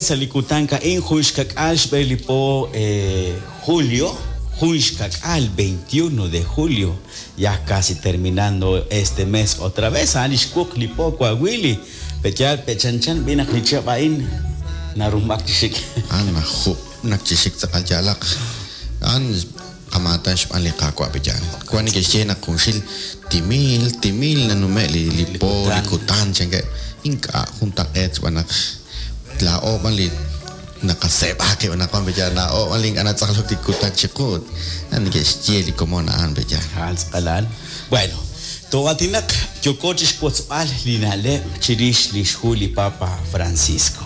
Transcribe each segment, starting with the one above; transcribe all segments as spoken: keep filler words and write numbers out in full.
sa' li kutan a'in jun xkak'al xb'e li po eh, julio, jun xkak'al veintiuno de julio, ya casi terminando este mes otra vez, a'an li xwuq li po Coahuili, pe'yaal pe'chanchan b'inaq li chihab' a'in narumb'ak chi xik. A'an najub' nak chi xik tz'aqal yaalaq. A'an qamaatan xb'aan li Qaawa' pe'yaal. Wan neke'xye naq junxil timil, timil nanume' li, li Li po, li kutan. kutan, chankeb'. Ink'a' juntaq'eet xb'aan naq laa'o b'an li naqaseeb'a qib' anaqwan pe'yaal. Laa'o b'an li ink'a' natz'aqlok li kutan chiqu. A'an neke'xye li komon a'an pe'yaal. A'an tz'aqalal. Bueno, too'aatinaq yooko chi xwotzb'al li na'leb' chirix li xhu li Papa Francisco.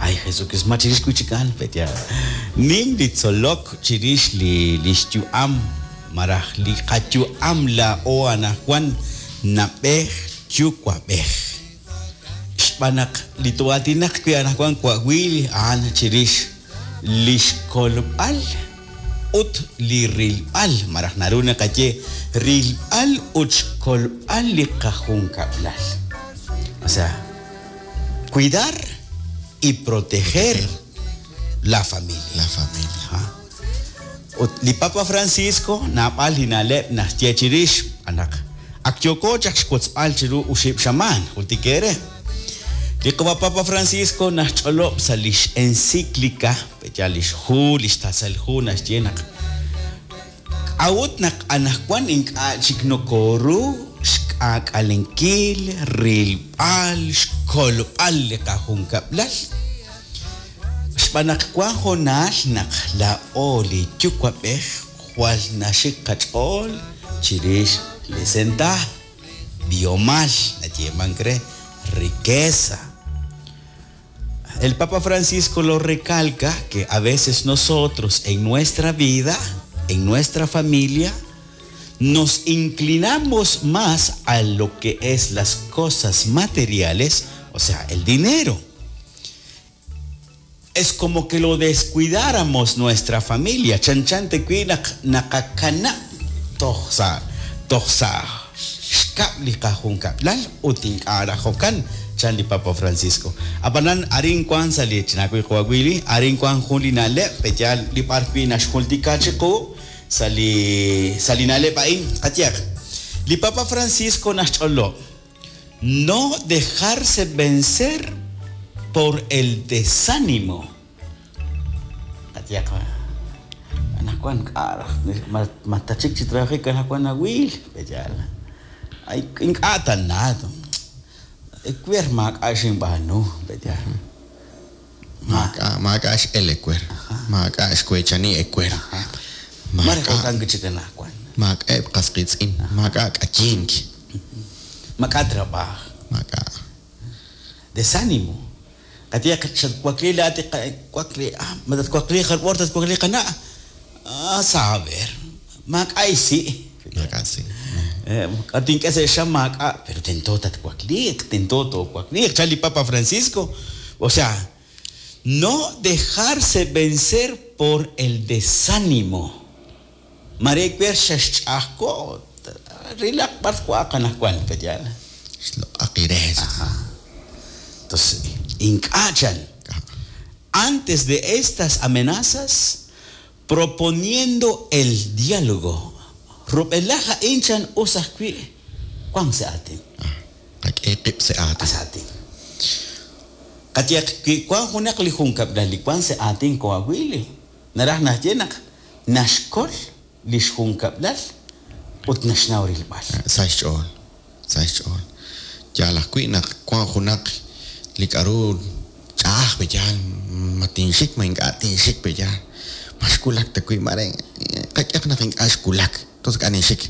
Ay, Jesucristo, ma chirix wi' chik a'an, pe'yaal. Nim li tzolok chirix li li xyu'am maraj li qayu'am laa'o anaqwan nab'ej yuwa'b'ej. Xb'aan naq li too'aatinaq wi' anaqwan Coahuil a'an chirix li xkolb'al ut li rilb'al, maraj naru naqaye rilb'al ut xkolb'al li qajunkab'lal. O sea, cuidar y proteger la familia. La familia. Ajá. Ut li Papa Francisco naab'al li na'leb' naxye chirix anaq ak yooko chaq xwotzb'al chiru uxib' xamaan, jultik eere. Li qawa Papa Francisco naxch'olob' sa' lix encíclica, pe'yaal lix hu, lix tasal hu naxye naq k'a'ut naq anaqwan ink'a' chik nokoru xk'aak'alenkil, rilb'al, xkolb'al li qajunkab'lal. Xb'aan naq wan hoonal naq laa'o li yuwa'b'ej jwal naxik qach'ool chirix li sentaab', b'ihomal, nayeemank re riqueza. El Papa Francisco lo recalca que a veces nosotros en nuestra vida, en nuestra familia, nos inclinamos más a lo que es las cosas materiales, o sea, el dinero. Es como que lo descuidáramos nuestra familia. Chanchan te naq naqakana toj sa' toj sa' xkab' li qajunkab'lal ut ink'a' rajokan chan li Papa Francisco. Ab'anan arin wan sa' li chinawi Coahuili, arin wan jun li na'leb' pe'yaal li b'ar wi' naxjultika chiqu sa' li sa' li na'leb' a'in qayehaq. Li Papa Francisco naxch'olob' no dejarse vencer por el desánimo. Qayehaq anaqwan k'a' ma tachik chi trabajik anaqwan awil pe'yaal. Ay ink'a' tana ewer maak'a' xinb'aanu pe'yaal. Maak'a' maak'a' x'el ewer. Maak'a' xweechani ewer. Mare jo'kan chik anaqwan. Maak'a'eb' qasqiitz'in, maak'a' k'ayink. Maak'a' trabajo. Maak'a'. Desánimo. Qayehaq xatwakli laat wakli ah matatwakli jar tatwakli qana' ah saber maak'a' isi'. Maak'a' si'. K'a tink'e sa' xam maak'a' pero tento tatwakliiq, tento toowakliiq chan li Papa Francisco. O sea, no dejarse vencer por el desánimo. Mare ewer xaxch'ajko' rilaq b'ar wa'aq anaqwan pe'yaal. Xloq'aqires. Ajá. Entonces, ink'a' chan. Antes de estas amenazas, proponiendo el diálogo. Rub'elaj a'in chan us ajwi' wan sa' aatin. Qak'e qib' sa' aatin. Sa' aatin. Qayehaq wi wan junaq li junkab'lal li wan sa' aatin Coahuili, naraj naxye naq naxkol li xjunkab'lal ut naxnaw rilb'al. Sa' xch'ool, sa' xch'ool. Yaal ajwi' naq wan junaq li k'a'ru ch'a'aj pe'yaal, ma tinxik ma ink'a' tinxik pe'yaal. Ma xwulak ta wi' mare qak'ehaq naq ink'a' xwulak. Entonces k'a' ninxik.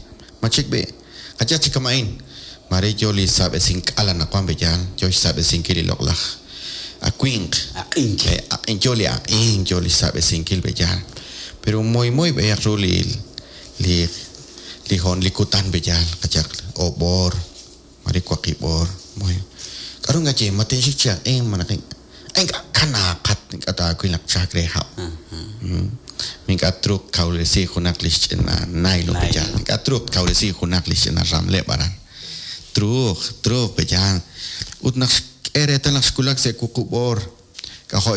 Ma chik b'i' qayehaq chi kama'in. Mare yo li sab'esink'al anaqwan pe'yaal, yo xsab'esinkil li loq'laj awinq. Aq'ink. Eh, aq'ink yo li aq'ink, yo li xsab'esinkil pe'yaal. Pero moy moy b'eyaq ru li li li hoon li kutan pe'yaal, qayehaq oob' oor, mare waqib' oor, moy. K'aru ngaye ma tinxik chi aq'ink ma naq ink'a' kanaaqat ink'a' taawil naq chalk re hab'. Ink'a' truuq kawresi junaq li xch'ina nylon pe'yaal, ink'a' truuq kawresi junaq li xch'ina ramleb' aran. Truuq, truuq pe'yaal. Ut naq xk'e reetal naq xwulak sa' wuqub' oor, k'ajo'